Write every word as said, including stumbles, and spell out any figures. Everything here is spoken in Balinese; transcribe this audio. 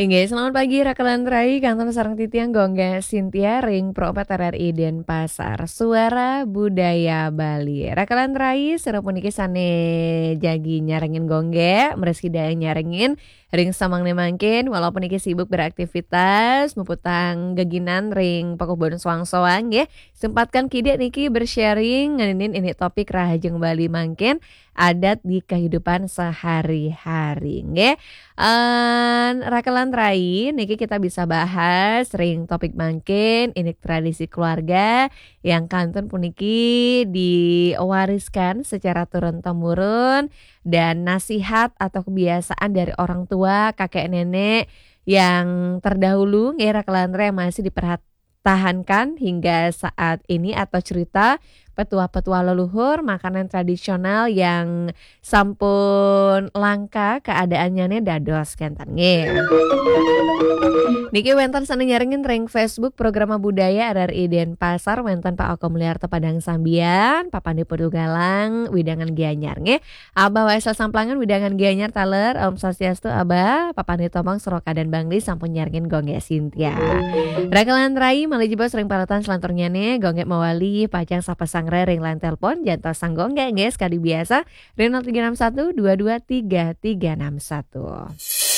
Inggih, selamat pagi Rakelan Rai, kantun sareng titiang Gongge Sintia ring Pro empat R R I Denpasar, Suara Budaya Bali. Rakelan Rai, sira puniki sane jagi nyarengin Gongge, mriki daya nyarengin ring samangke mangkin, walaupun niki sibuk beraktivitas, muputang geginan ring pakubon soang-soang, nggih. Sempatkan kidik niki bersharing ngeninin ini topik Rahajeng Bali mangkin, adat di kehidupan sehari-hari, nggih. En, Rakelan Rai, niki kita bisa bahas ring topik mangkin, ini tradisi keluarga yang kantun puniki diwariskan secara turun-temurun, dan nasihat atau kebiasaan dari orang tua, kakek nenek yang terdahulu, nggih, Rakelan Rai, yang masih dipertahankan hingga saat ini, atau cerita petua-petua leluhur, makanan tradisional yang sampun langka keadaannya ne dados kenten, nggih. Niki wenten sane nyarengin ring Facebook Programa Budaya R R I Denpasar, wenten Pak Oko Mulyarto Padang Sambian, Papane Putu Galang, Widangan Gianyar, nggih. Abah Waisel Samplangan, Widangan Gianyar taler, Om Swastiastu, Abah, Papane Tomang, Soroka dan Bangli, sampun nyarengin Gongge Sintia. Rakelan Rai, malih jebos ring paretan selanturnyane, Gongge mawali, pacang sapa sanggra ring line telepon, jantos sang Gongge, nggih, sekadi biasa, ring nol tiga enam satu dua dua tiga tiga enam satu.